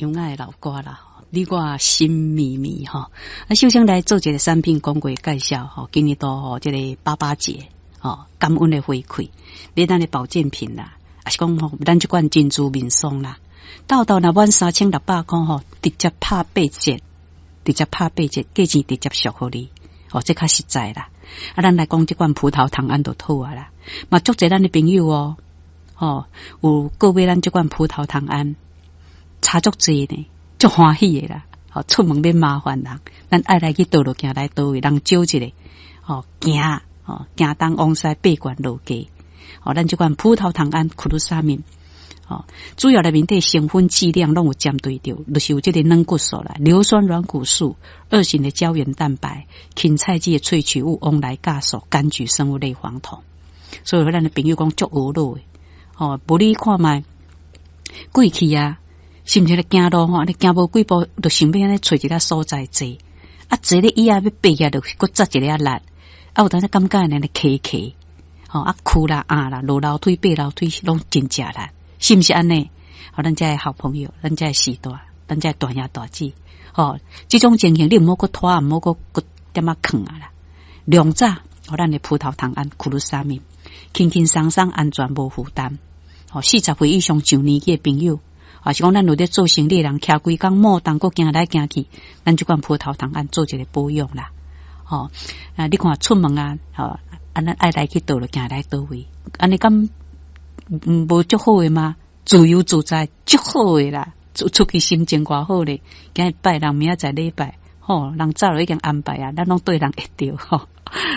有愛的老歌啦，你我心绵绵吼。啊，首先來做一個產品廣告介紹吼，今年度吼這個爸爸節吼，感恩的回饋，買咱的保健品啦，抑是講吼，咱這款珍珠面霜啦，到到若滿3600箍吼，直接拍八折，直接拍八折，價錢直接俗予你，哦，這較實在啦。啊，咱來講這款葡萄糖胺就好啊啦，嘛足濟咱的朋友哦，吼，有購買咱這款葡萄糖胺，差足濟呢，足歡喜的啦。吼，出門免麻煩人，咱愛來去佗落行來佗位，人招一个，吼，行，吼，行東往西八罐落價，吼，咱這款葡萄糖胺 glucosamine，吼，主要內面底成分劑量攏有針對著，就是有這個軟骨素啦、硫酸軟骨素、二型的膠原蛋白、芹菜籽的萃取物、王來鉀素、柑橘生物類黃酮。所以咱的朋友講足懊惱的，吼，無你看覓過去啊，是毋是咧行路吼？你行無幾步，就想欲按呢揣一个所在坐，啊，坐咧椅仔欲爬起來，就閣扎一个力，啊，有當時感覺按呢磕磕，吼，啊，屈啦、壓啦、落樓梯、爬樓梯攏真食力，是毋是按呢？好，咱遮的好朋友，咱遮的序大，咱遮的大兄大姊，吼，這種情形你毋好閣拖，毋好閣閣點仔囥啊啦。量早，予咱的葡萄糖胺、glucosamine，輕輕鬆鬆、安全無負擔。吼，40歲以上上年紀的朋友，抑是講咱有咧做生理的人，徛規工摩動，閣行來行去，咱這款葡萄糖胺做一個保養啦。吼，啊，你看出門啊，吼，啊，咱愛來去佗落行來佗位，按呢敢無足好的嗎？自由自在足好的啦，出出去心情偌好咧。今日拜六，明仔載禮拜，吼，人早就已經安排啊，咱攏對人會著吼。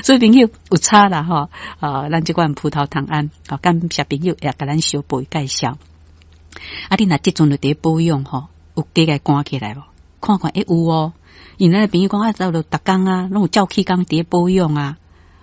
所以朋友有差啦吼，啊，咱這款葡萄糖胺，好，感謝朋友也共咱小步介紹。啊，你若這陣就佇咧保養吼，有加共關起來無？看看會有哦。因咱的朋友講啊，走落逐工啊，攏有照起工佇咧保養啊，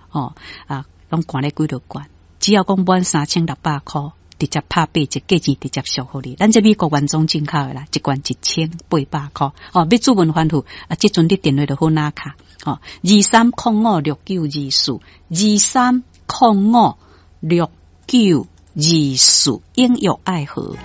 吼啊，攏關咧幾落罐，只要講滿3600箍，直接拍八折，價錢直接俗予你。咱這美國原裝進口的啦，一罐1800箍。哦，欲主問番號啊，這陣你電話就好拿卡。哦，23056924，23056924，應約愛河。